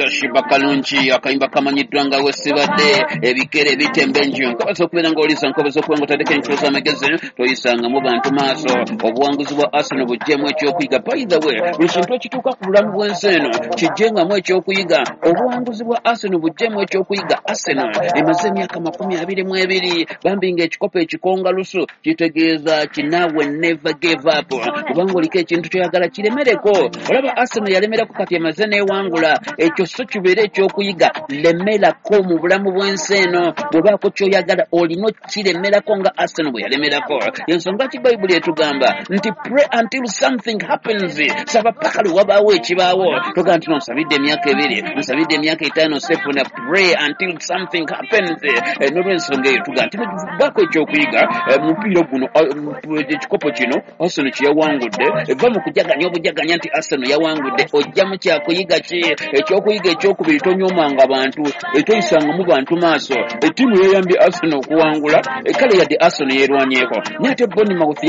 Shiba Kalungi akayimba kamanyiddwa nga wesibadde ebikere bitemba enju. Nkobaza okubeera ng'oliisa, nkobaza okuba ng'otandika enkyusa amagezi, toyisangamu bantu maaso. Obuwanguzi bwa Arsenal buggyemu ekyokuyiga. By the way, buli kintu ekituuka ku bulamu bw'ensi eno kijjengamu ekyokuyiga. Obuwanguzi bwa Arsenal buggyemu ekyokuyiga. Arsenal emaze emyaka 22 bambi ng'ekikopo ekikonga lusu, kitegeeza kinaawe never give up, kubanga oliko ekintu kyoyagala kiremereko. Olaba Arsenal yalemerako, kati emaze n'ewangula. Ekyo so kibeere ekyokuyiga. Lemerako mu bulamu bw'ensi eno, bw'obaako kyoyagala olina okiremerako nga Arsenal bwe yalemerako. Ensonga ki Bayibuli etugamba nti pray until something happens, saba paka lwe wabaawo ekibaawo. Togamba nti no nsabidde emyaka 2, nsabidde emyaka 5, sefuna. Pray until something happens. N'olwensonga eyo tugamba nti baako ekyokuyiga mupiira guno, ekikopo kino Arsenal kyeyawangudde. Va mu kujaganya obujaganya nti Arsenal yawangudde, ojjamu kyakuyiga ki? Ekyokuyiga ekyokubiri, tonyoomanga bantu, toyisangamu bantu maaso. Ettiimu yeyambye Arsenal okuwangula, kale yadde Arsenal yeerwanyeeko, naye ate Bournemouth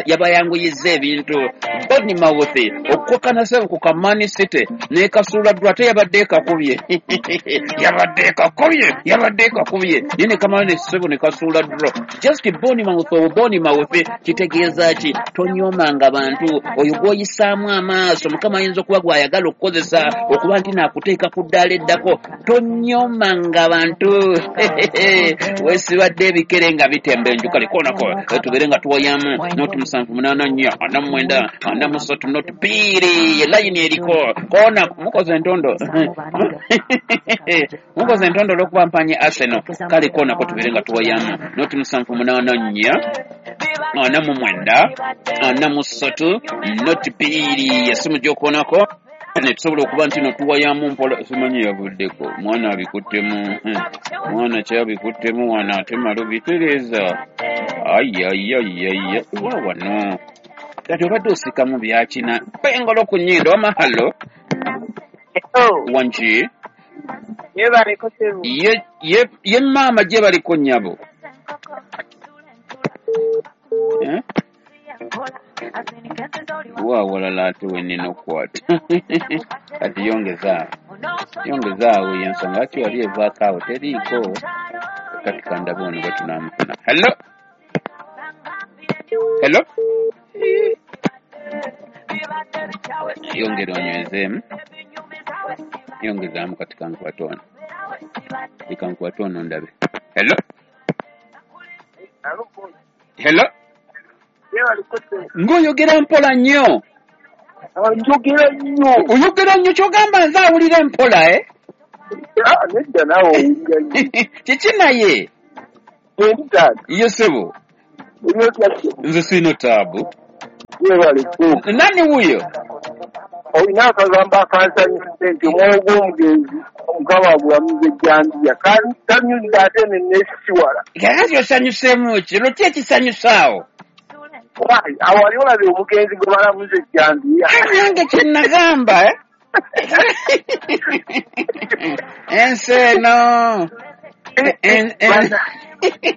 yabayanguyiza ebintu. Bournemouth okukokana sebo ku ka Man City n'ekasuula ddwa, ate yabadde ekakubye, yabadde ekakubye, yabadde ekakubye, naye ne kamala ne sebo ne kasuula draw. Just Bournemouth, obwo Bournemouth kitegeeza ki? Tonyoomanga bantu. Oyo gw'oyisaamu amaaso Mukama ayinza okuba gw'ayagala okukozesa okuba nti naakuteeka ku ddaala eddako. Tonyoomanga bantu. Weesibadde ebikere nga bitemba enju. Kale koonako tubeere nga tuwayamu 0 7 8 4 9 4 3 0 2, layini eriko koona. Mukoze entondo, mukoze entondo olw'okuba mpanye Arsenal. Kale koonako tubeere nga tuwayamu 0 7 8 4 9 4 3 0 2, esimu gy'okoonako netusobola okuba nti no tuwayamu mpola. Simanyi yavuddeko, mwana abikuttemu, mwana kyabikuttemu wano, ate malo bitereeza. Ayayayaya, wa wano kati obadde osikamu byakina pengolo ku nnyindo. Wama hallo. Wanki? Yebaleko ssebo. Ye, ye, ye maama gye baliko nnyabo, eh? Wa walala ate wenina okukwata kati, yongezaawo, yongezaawo, yensonga lwaki wali evaako awo teriiko. Kati kandabe ono bwe tunaamufuna. Hello, hello, yongera onywezeemu, yongezaamu. Kati kankwate ono, kankwate ono ndabe. Hello, hello. Ng'oyogera mpola nnyo. Njogera nnyo. Oyogera nnyo, kyogamba nze awulira empola, eh? Nedda, naawe owulira nnyo. Kiki naye? Endi taata. Ye ssebo. Nze siina taabu. Yebaleko. Nani wuyo? Olina akagambo akansanyusa nti omwoyo gw'omugenzi Mukama agulamuza ejjambiya, kanyuza ate nenesisiwala. Kakati osanyuseemu ki? Lwaki ekisanyusaawo? Awo wali olabye omugenzi gwe balamuza ejjambiya? Nange kyenagamba, eh? Ensi eno.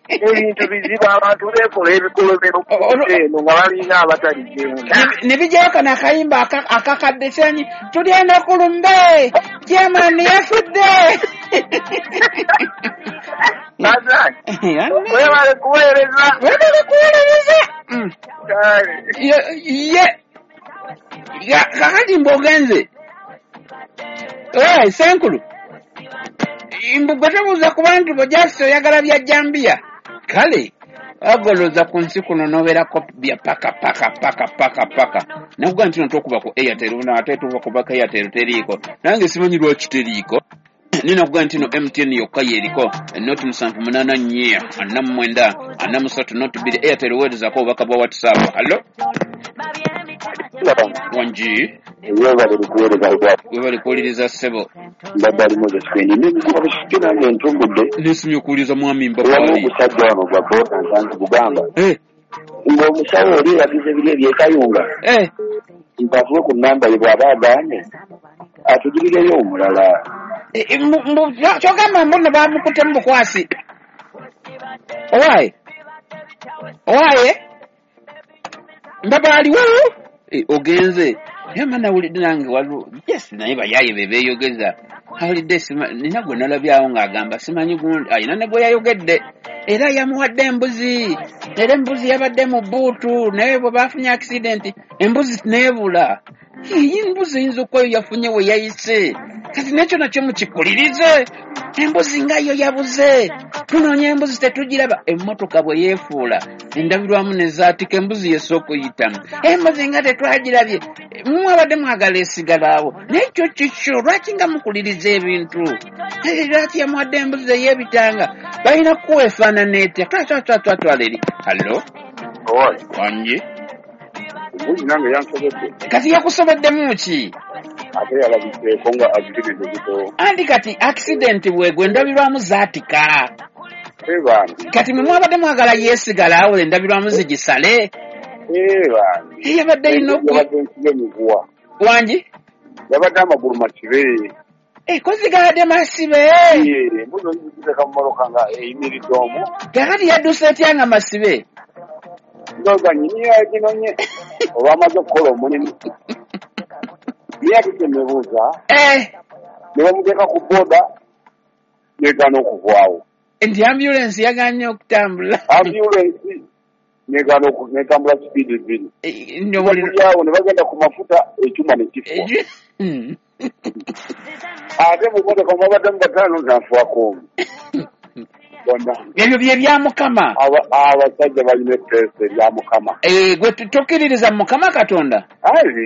Ebintu bizibu, abantu beekola ebikolobero eno nga balina abataligenga. Ne bijjayo kano akayimba akakadde kyanyi, tulyenda ku lumbe, Germany yafudde. Webale kuweereza. Webale kuweereza. Ye kakati mbogenze senkulu mbugwe tobuuza ku bantu bo, just oyagala bya jambiya. Kale agoloza ku nsi kuno nobeerako bya paka paka paka paka paka. Nakugaa nti no tokuba ku Airtel, ate tuva kubaka Airtel teriiko, nange simanyi lwaki teriiko. Nina kugaa nti no MTN yokka yeriko 0 7 8 4 9 4 3 0 2. Airtel weerezako obubaka bwa WhatsApp. Hallo, wangi? Webale kuweereza. Webale kuwuliriza ssebo. Mbadde ali Moses Kwendi nebikuba busike, nange ntumbudde. Nesimye okuwuliriza mwami Wamu Mbabaali. Ogusajja wano gwa boda nsanze gugamba ng'omusawo oli eyagize biri ebyekayunga mpatuwe ku namba ye, bw'aba agaanye atugirireyo omulala. Kyogamba mbuno bamukuttemu bukwasi. Owaaye, owaaye, Mbabaali, wuu, ogenze. Naye manawulidde nange waliwo, yes, naye bayaye be beeyogeza. Awulidde nina gwe nalabyawo ng'agamba simanyi gundi alina ne gwe yayogedde era yamuwadde embuzi, era embuzi yabadde mu bbuutu, naye bwe baafunye accident embuzi neebula. Embuzi eyinza okuba yo yafunye we yayise, kati nekyo nakyo mukikulirize. Embuzi nga yo yabuze, tunoonya embuzi tetugiraba. Emmotoka bwe yeefuula endabirwamu ne zaatika, embuzi yessa okuyitamu. Embuzi nga tetwagirabye, mwabadde mwagala esigalaawo. Naye kyo kikyo, lwaki nga mukuliriza ebintu? Lwaki yamuwadde embuzi ey'ebitanga? Balina kuwa efaanana etya? Twatwatwatwatwala eri. Hallo? Wangi? Embuzi nange yansobedde. Kati yakusobeddemu ki? Ate yalabiseeko nga accident ezito. Anti kati accident bwegwe endabirwamu zaatika. Kati mwe mwabadde mwagala yeesigala awo endabirwamu zigisale. Yabadde erina emiguwa. Wangi? Yabadde amagulu masibe. Kozigaladde masibe. Embuzi oyiziteeka mu mmotoka nga eyimiridde omwo. Kakati yadduse etya nga masibe? Ndowooza nnyini yaginonye oba amaze okukola omulimu. Naye ate kye neebuuza, ne bamuteeka ku booda negaana okuvaawo. Nti ambulensi yagaanye okutambula. Ambulensi negaana netambula sipiidi bbiri. Awo ne bagenda ku mafuta ekyuma ne kifa. Ate mu mmotoka mwabaddemu bataano n'afuwako omu. Ebyo bye bya Mukama. Abasajja balina etteesa erya Mukama. Gwe tokkiririza mu Mukama Katonda?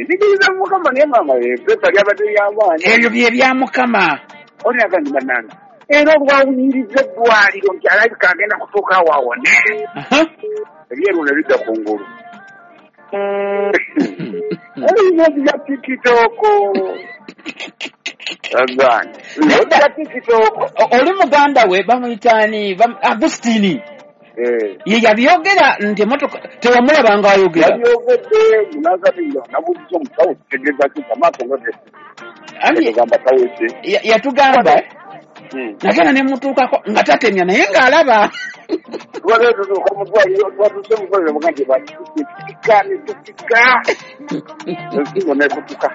Ndikkiririza mu Mukama naye maama etteesa lyabadde ly'amaanyi. Ebyo bye bya Mukama. Oli agambye bannange, era olwawunyiriza eddwaliro nti alabika agenda kutuuka awo awone. Ebyeru ne bidda ku ngulu. Olina bya TikTok. Oli muganda we bamuyitaani Agustini. Ye yabyogera nti emmotoka tewamulaba ng'ayogera. Yabyogedde nabuuziza omusawo kitegeeza ki amaaso nga yatugamba nagenda ne mutuukako nga tatemya naye ng'alaba. Twatuuka mu ddwaliro, twatuuse mu ddwaliro muga nti batusika ne tusika ensingo n'ekutuka.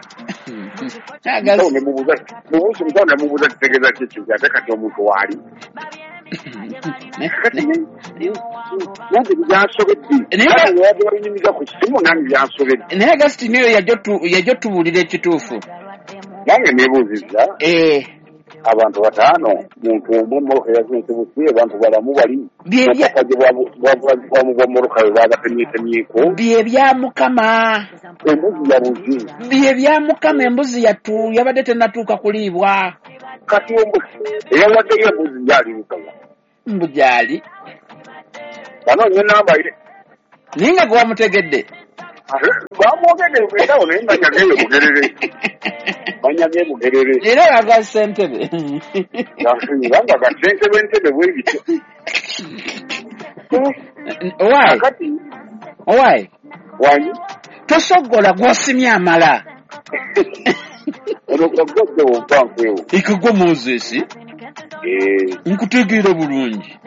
Omusawo nemubuuza kitegeeza ki ekyo ate kati omuntu waali. Nange byansobedde. Naye babinyumiza ku kisimu nange byansobedde. Naye Agustini oyo yajja otubuulira ekituufu. Nange neebuuzizza. Abantu bataano muntu omu emmotoka yazinze busi, abantu balamu bali obukadde bwa mmotoka bwe baabatemyetemyeko. Bye bya Mukama. Embuzi yabuze. Bye bya Mukama, embuzi yabadde tennatuuka kuliibwa. Kati eyawaddeyo embuzi gyali Mukama. Mbu gyali. Banoonya ennamba ye. Naye nga gwe wamutegedde. Bamwogedde ensawo naye banyageyo Bugerere. Banyage Bugerere. Era aga ssentebe. Nga ga ssentebe ntebe bwe bityo. Owaayi. Owaayi. Wangi. Tosoggola gw'osimye amala. Ono kaggadde wompa nfeewo. Ekagwa Moses. Nkutegeera bulungi.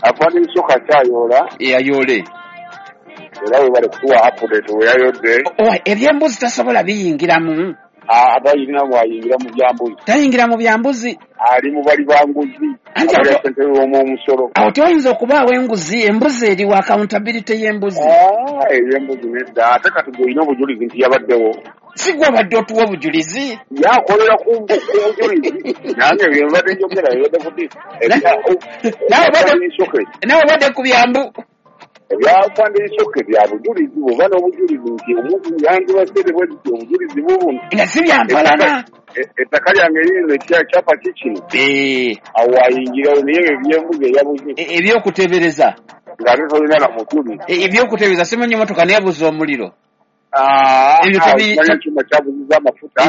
Afaana ensoka kyayoola. Ayoole. Era we bali kutuwa update we yayodde. Ebyembuzi tasobola biyingiramu. Abayina bwayingira mu byambuzi. Tayingira mu byambuzi. Ali mu bali banguzi. Abalya ssentebe w'omusolo. Awo tewayinza okubaawo enguzi, embuzi eri wa accountability y'embuzi. Ey'embuzi nedda. Ate kati gwe olina obujulizi nti yabaddewo. Si gwe obadde otuwa obujulizi? Yakolera ku bujulizi. Nange bye mbadde njogera bibadde kuti. Nawe obadde ku byambu. Ebyafande ebisoke bya bujulizi bw'oba n'obujulizi nti omuntu yandibaseere bwe nti obujulizi bubuno. Nga si bya mpalana. Ettaka lyange lirino ekyapa kikino. Awo ayingirawo naye ebyo ebyembuzi eyabuze. Ebyokuteebereza. Ng'ate tolina na mujulizi. Ebyokuteebereza simanyi emmotoka neebuza omuliro. Ebyo ekyuma kyabuziza amafuta.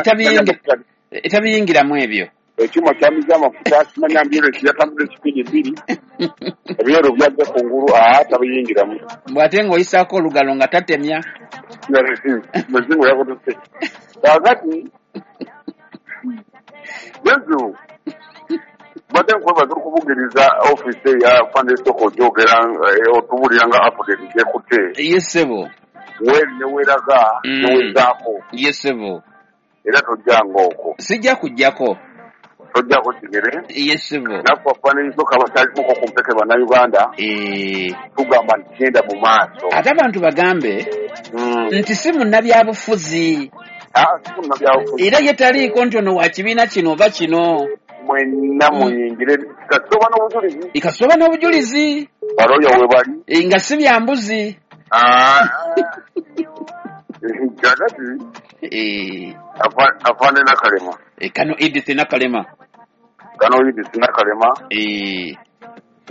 Etabiyingiramu ebyo. Ekyuma kyamiza amafuta simanya ambulensi yatambula sipiidi bbiri. Ebyeru byajja ku ngulu tabiyingiramu. Mbw ate ng'oyisaako olugalo nga tatemya. Muzingo yakutuse. Kaakati Yesu mbadde nkwebaza okubugiriza ofiisi eya Fande Soko ogyogera otubulira nga update gyekutte. Ye ssebo. Weeri ne weeraga newezaako. Yesebo. Era tojjanga okwo. Sijja kujjako. Tojjako kigere. Yesebo. Naffe afaananyizoka abatalimuko ku mpeke bannayuganda. Tugamba nti genda mu maaso. Ate abantu bagambe nti si munnabyabufuzi. Si munnabyabufuzi. Era ye taliiko nti ono wa kibiina kino oba kino. Mwenna muyingire kasoba n'obujulizi. Kasoba n'obujulizi. Baloya we bali. Nga si bya mbuzi. Kakati afaane Nakalema. Kano Edith Nakalema. Kano Edith Nakalema.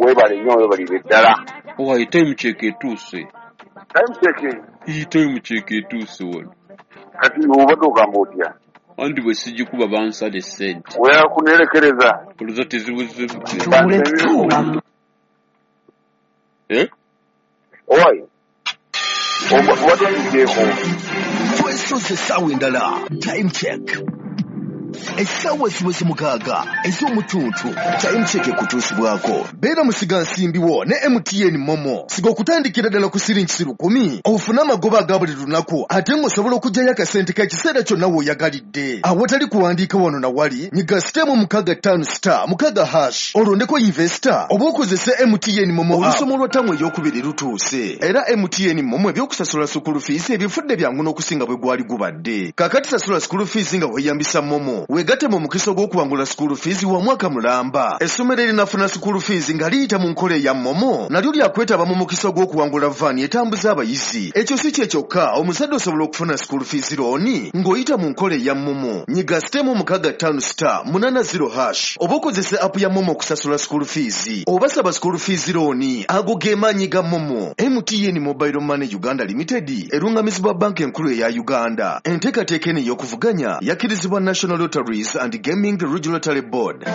Weebale nnyo, weebalire ddala. Owaye time check etuuse. Time check? Time check etuuse wano. Kati obadde ogamba otya? Anti bwe sijikuba bansala essente. Weyakuneerekereza. Oluza tezibuze. Owaye. Obadde oyigyeko. Twesoze essaawa endala. Time check. Essaawa ziweze 6 ez'omutuntu. Time check ekutuusibwako. Beera musigansimbi wo ne MTN Momo. Siga okutandikira ddala ku siringi 10,000 ofune amagoba aga buli lunaku ate ng'osobola okuggyayo akasente k'ekiseera kyonna w'oyagalidde. Awatali kuwandiika wano na wali, nyiga *656*6# olondeko investor oba okozese MTN Momo. Olusomo lwa ttamu ey'okubiri lutuuse. Era MTN Momo ebyokusasula school fees ebifudde byangu n'okusinga bwe gwali gubadde. Kaakati sasula school fees nga weeyambisa Momo. Weegatte mu mukisa ogw'okuwangula school fees wa mwaka mulamba. Essomero erinafuna school fees nga liyita mu nkola eya Momo nalyo lyakwetaba mu mukisa ogw'okuwangula vaani etambuza abayizi. Ekyo si kye kyokka, omuzadde osobola okufuna school fees looni ng'oyita mu nkola eya Momo. Nyiga *656*80# oba okozese app ya Momo okusasula school fees oba saba school fees looni. Ago ge maanyi ga Momo. MTN Mobile Money Uganda Limited erungamizibwa Banka Enkulu eya Uganda. Enteekateeka eno ey'okuvuganya yakkirizibwa National Lotteries and Gaming Regulatory Board.